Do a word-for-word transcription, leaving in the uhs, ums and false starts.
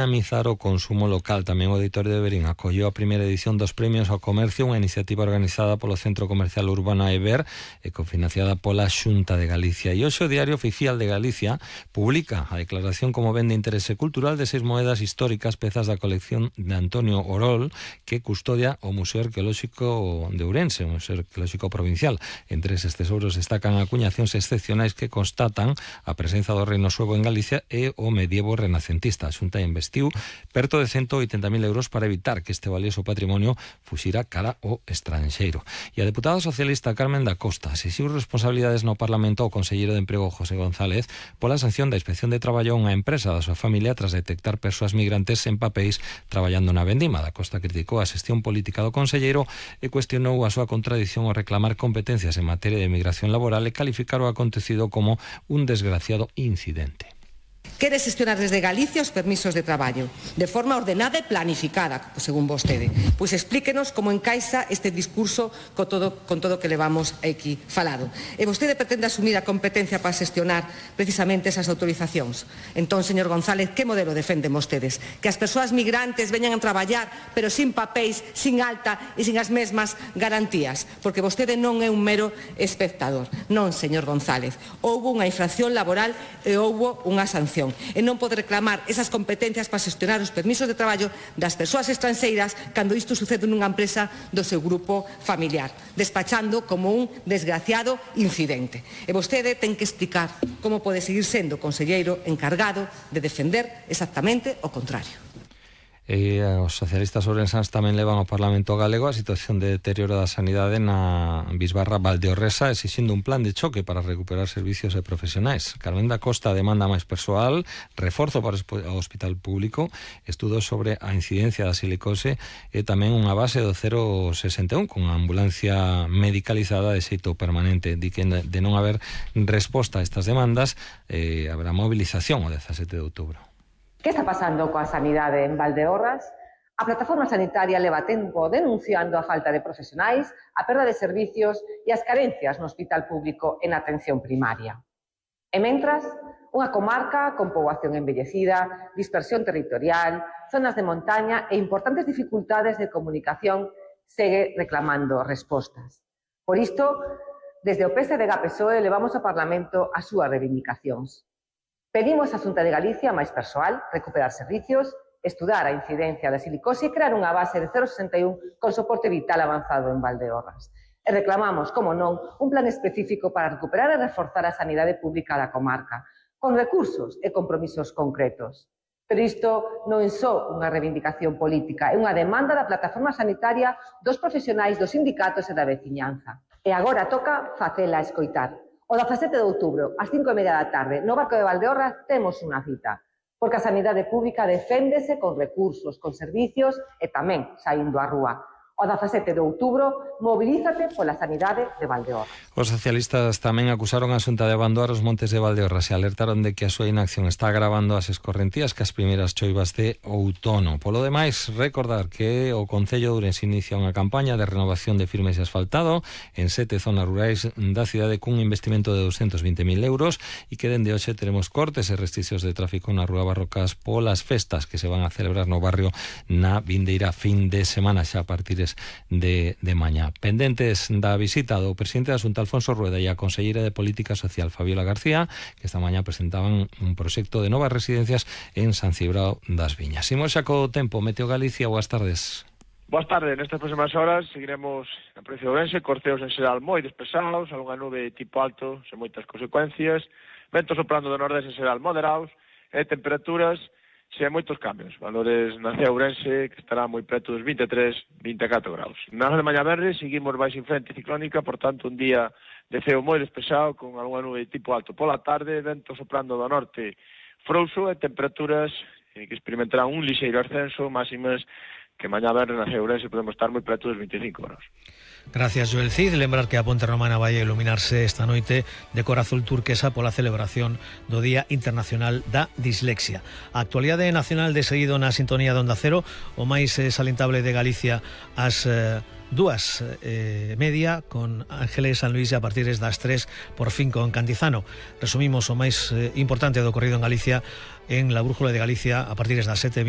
dinamizar o consumo local. Tamén o Auditorio de Verín acolleu a primeira edición dos Premios ao Comercio, unha iniciativa organizada polo Centro Comercial Urbano Eber e cofinanciada pola Xunta de Galicia. E hoxe o Diario Oficial de Galicia publica a declaración como ben de interese cultural de seis moedas históricas, pezas da colección de Antonio Orol, que custodia o Museo Arqueolóxico de Ourense, o Museo Arqueolóxico Provincial. Entre eses tesouros destacan acuñacións excepcionais que constatan a presenza do reino suevo en Galicia e o medievo renacentista. A Xunta investiu perto de ciento oitenta mil euros para evitar que este valioso patrimonio fuxira cara ao estranxeiro. E a deputada socialista Carmen da Costa exixiu responsabilidades no Parlamento ao conselleiro de Emprego José González pola sanción da Inspección de Traballo a unha empresa da súa familia tras detectar persoas migrantes sen papéis traballando na vendima. Da Costa criticou a xestión política do conselleiro e cuestionou a súa contradición ao reclamar competencias en materia de migración laboral e calificar o acontecido como un desgraciado incidente. Quere xestionar desde Galicia os permisos de traballo de forma ordenada e planificada, según vostede. Pois explíquenos como encaixa este discurso con todo, con todo que levamos aquí falado. E vostede pretende asumir a competencia para xestionar precisamente esas autorizacións. Entón, señor González, que modelo defenden vostedes? Que as persoas migrantes veñan a traballar pero sin papéis, sin alta e sin as mesmas garantías? Porque vostede non é un mero espectador. Non, señor González. Houbo unha infracción laboral e houbo unha sanción. E non pode reclamar esas competencias para xestionar os permisos de traballo das persoas estranxeiras cando isto sucede nunha empresa do seu grupo familiar, despachando como un desgraciado incidente. E vostede ten que explicar como pode seguir sendo o conselleiro encargado de defender exactamente o contrario. E os socialistas ourensáns tamén levan ao Parlamento galego a situación de deterioro da sanidade na bisbarra Valdeorresa, exixindo un plan de choque para recuperar servicios e profesionais. Carmen da Costa demanda máis persoal, reforzo para o hospital público, estudos sobre a incidencia da silicose e tamén unha base do cero sesenta e un con ambulancia medicalizada de xeito permanente. Di que de non haber resposta a estas demandas, eh, haberá movilización o dezasete de outubro. Que está pasando coa sanidade en Valdeorras? A plataforma sanitaria leva tempo denunciando a falta de profesionais, a perda de servicios e as carencias no hospital público en atención primaria. E mentras, unha comarca con poboación envellecida, dispersión territorial, zonas de montaña e importantes dificultades de comunicación segue reclamando respostas. Por isto, desde o P S D G A P S O E levamos ao Parlamento as súas reivindicacións. Pedimos á Xunta de Galicia máis persoal, recuperar servicios, estudar a incidencia da silicose e crear unha base de cero sesenta e un con soporte vital avanzado en Valdeorras. E reclamamos, como non, un plan específico para recuperar e reforzar a sanidade pública da comarca, con recursos e compromisos concretos. Pero isto non é só unha reivindicación política, é unha demanda da plataforma sanitaria, dos profesionais, dos sindicatos e da veciñanza. E agora toca facela escoitar. O dezasete de outubro, ás cinco e media da tarde, no Barco de Valdeorras, temos unha cita, porque a sanidade pública deféndese con recursos, con servicios e tamén saindo á rúa. O dezasete de outubro, mobilízate pola sanidade de Valdeorras. Os socialistas tamén acusaron a Xunta de abandonar os montes de Valdeorras e alertaron de que a súa inacción está agravando as escorrentías que as primeiras choivas de outono. Polo demais, recordar que o Concello de Ourense inicia unha campaña de renovación de firmes e asfaltado en sete zonas rurais da cidade cun investimento de doscientos vinte mil euros e que dende hoxe teremos cortes e restriccións de tráfico na Rúa Barrocas polas festas que se van a celebrar no barrio na vindeira fin de semana xa a partir de, de mañá. Pendentes da visita do presidente da Xunta Alfonso Rueda e a conselleira de Política Social Fabiola García, que esta mañá presentaban un proxecto de novas residencias en San Cibrao das Viñas. Imos xa co tempo. Meteo Galicia, boas tardes. Boas tardes, nestas próximas horas seguiremos na provincia de Ourense, corteos en xeral moi despesados, algunha nube tipo alto, sen moitas consecuencias, ventos soprando do nordeste en xeral moderados, e temperaturas sen moitos cambios, valores na cea Ourense que estará moi preto dos vinte e tres, vinte e catro graus. Na de mañá verde seguimos baixo influente ciclónica, por tanto un día de ceo moi despexado con algunha nube tipo alto. Pola tarde, vento soprando do norte frouxo e temperaturas eh, que experimentarán un lixeiro ascenso, máximas que mañá verde na cea Ourense podemos estar moi preto dos vinte e cinco graus. Gracias, Joel Cid. Lembrar que a Ponte Romana vai a iluminarse esta noite de cor azul turquesa pola celebración do Día Internacional da Dislexia. A actualidade nacional de seguido na sintonía de Onda Cero, o máis eh, salientable de Galicia ás eh, dúas e media con Ángeles San Luis e a partir das tres por fin con Cantizano. Resumimos o máis eh, importante do ocorrido en Galicia en la Brújula de Galicia a partir das sete e vinte